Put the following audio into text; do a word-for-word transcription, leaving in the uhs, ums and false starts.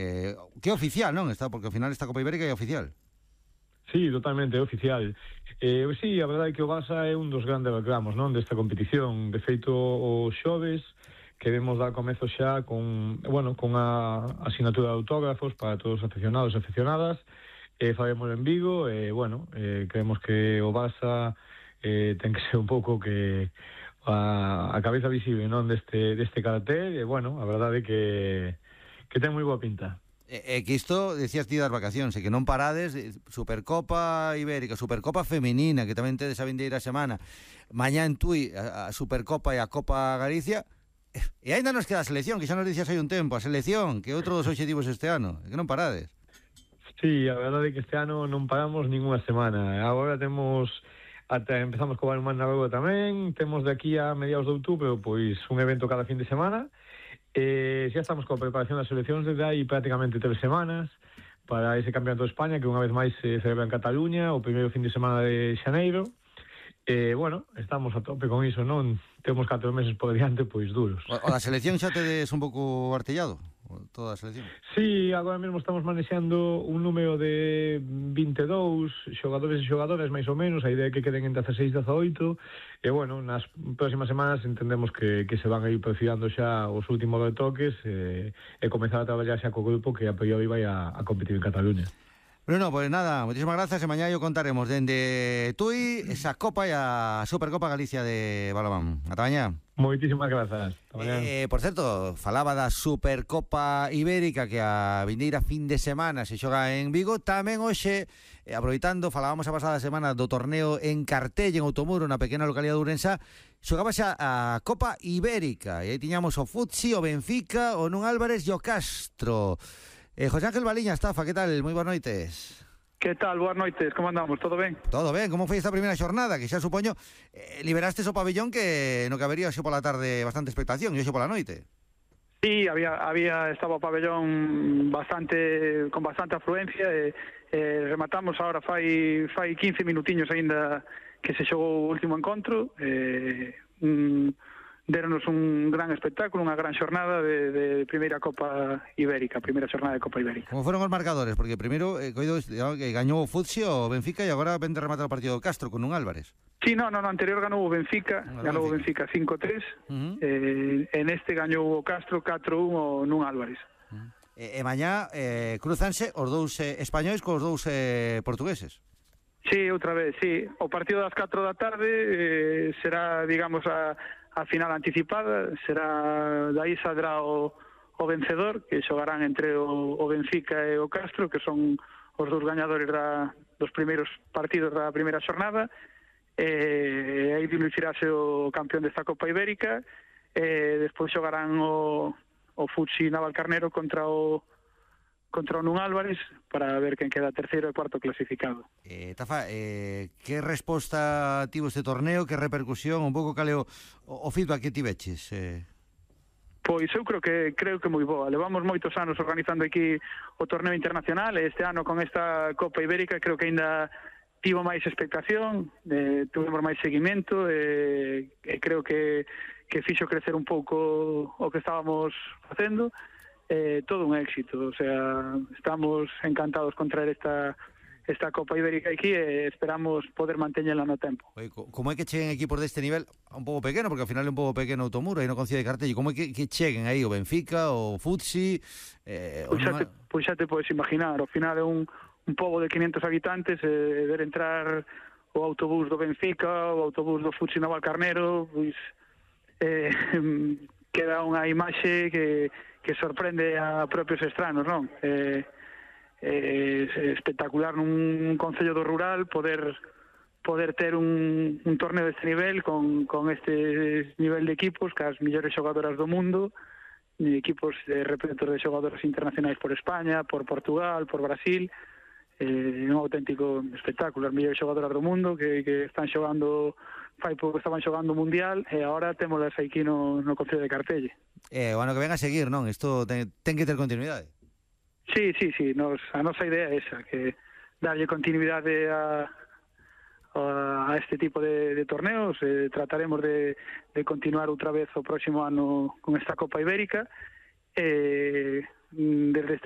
eh, que é oficial, non? Está, porque ao final esta Copa Ibérica é oficial. Sí, totalmente, é oficial. Eh, sí, a verdade é que o Barça é un dos grandes reclamos, non, desta competición. De feito, os xoves queremos dar comezo xa con, bueno, con a asignatura de autógrafos para todos os aficionados e aficionadas. Eh, faremos en Vigo, e, eh, bueno, eh, creemos que o Barça eh, ten que ser un pouco que a, a cabeza visible, non, deste, deste cartel, e, bueno, a verdade é que, que ten moi boa pinta. É que isto, decías ti das vacacións, e que non parades, Supercopa Ibérica, Supercopa Femenina, que tamén tedes a vindeira semana, mañá en Tui, a, a Supercopa e a Copa Galicia, e ainda nos queda a selección, que xa nos dicías hai un tempo, a selección, que é outro dos obxectivos este ano, é que non parades. Sí, a verdade é que este ano non paramos ninguna semana, agora temos... Ata empezamos co balonmán na Rúa tamén, temos de aquí a mediados de outubro pois un evento cada fin de semana. Eh, xa estamos coa preparación das seleccións desde aí prácticamente tres semanas para ese campeonato de España que unha vez máis se celebra en Cataluña o primeiro fin de semana de xaneiro. Eh, bueno, estamos a tope con iso, non? Temos catro meses por diante, pois duros. O, o da selección xa tedes un pouco artellado? Toda a selección? Sí, agora mesmo estamos manexando un número de vinte e dous xogadores e xogadoras, máis ou menos, a idea é que queden entre dezasseis e dezaoito, e, bueno, nas próximas semanas entendemos que, que se van a ir perfilando xa os últimos retoques e, e comezar a traballar xa co grupo que a priori vai a, a competir en Cataluña. Bruno, pues nada, muchísimas gracias, e mañá yo contaremos dende Tui esa Copa e a Supercopa Galicia de balonmán. Ata mañá. Moitísimas grazas. Eh, por certo, falaba da Supercopa Ibérica que a vindeira fin de semana se xoga en Vigo. Tamén hoxe, eh, aproveitando, falábamos a pasada semana do torneo en Cartell, en Outomuro, na pequena localidade de Ourensa, xogaba xa a Copa Ibérica. E aí tiñamos o Futsi, o Benfica, o Nun Álvarez e o Castro. Eh, José Ángel Baliña, Estafa, que tal? Moi boas noites. Que tal? Boas noites, como andamos? Todo ben? Todo ben, como foi esta primeira xornada? Que xa supoño, eh, liberastes o pabellón que no que habería xo pola tarde bastante expectación e xo pola noite. Sí, había, había estaba o pabellón bastante con bastante afluencia e eh, rematamos agora fai, fai quince minutiños aínda que se xogou o último encontro. Eh, un, deronos un gran espectáculo, unha gran xornada de, de primeira Copa Ibérica, primeira xornada de Copa Ibérica. Como foron os marcadores? Porque primeiro eh, coido, que gañou o Futsi o Benfica e agora vende rematar o partido do Castro con un Álvarez. Sí, no, no, no anterior ganou o Benfica, no, ganou o Benfica cinco tres, uh-huh. eh, en este gañou o Castro catro un o Nun Álvarez. Uh-huh. E, e mañá eh, cruzanse os dous eh, españois cos dous eh, portugueses. Sí, outra vez, sí. O partido das catro da tarde eh, será, digamos, a a final anticipada, será dai saldrá o, o vencedor, que xogarán entre o, o Benfica e o Castro, que son os dous gañadores da, dos primeiros partidos da primeira xornada, e aí dilucirase o campeón desta Copa Ibérica, e despois xogarán o, o Futsi Navalcarnero contra o contra o Nun Álvarez para ver quen queda terceiro e cuarto clasificado. Eh, Tafa, eh, que resposta tivo este torneo, que repercusión, un pouco caleo o, o feedback que tiveches? Eh... Pois eu creo que creo que moi boa. Levamos moitos anos organizando aquí o torneo internacional e este ano con esta Copa Ibérica creo que aínda tivo máis expectación, eh, tuvemos máis seguimento e, e creo que, que fixo crecer un pouco o que estábamos facendo. Eh, todo un éxito, o sea, estamos encantados con traer esta esta Copa Ibérica aquí e esperamos poder manteñela no tempo. Oye, como é que cheguen equipos deste nivel un pouco pequeno, porque ao final é un pouco pequeno Outomuro aí no Concello de Cartell, como é que, que cheguen aí o Benfica, o Futsi eh, pois, xa te, pois xa te podes imaginar, ao final é un, un pobo de quinientos habitantes e eh, ver entrar o autobús do Benfica, o autobús do Futsi Navalcarnero, pois eh, queda unha imaxe que que sorprende a propios estranos, non? Eh, eh, espectacular nun concello do rural poder poder ter un, un torneo deste nivel con, con este nivel de equipos, que as millores xogadoras do mundo, equipos de representos de xogadoras internacionais por España, por Portugal, por Brasil, eh, un auténtico espectáculo, as millores xogadoras do mundo que, que están xogando, fai pouco estaban xogando o Mundial e agora témolas aquí no, no Concello de Cartelle. Eh, o ano que ven a seguir, non? Isto ten, ten que ter continuidade. Sí, sí, sí, nos, a nosa idea é esa, que darlle continuidade a, a este tipo de, de torneos, eh, trataremos de, de continuar outra vez o próximo ano con esta Copa Ibérica, eh, desde este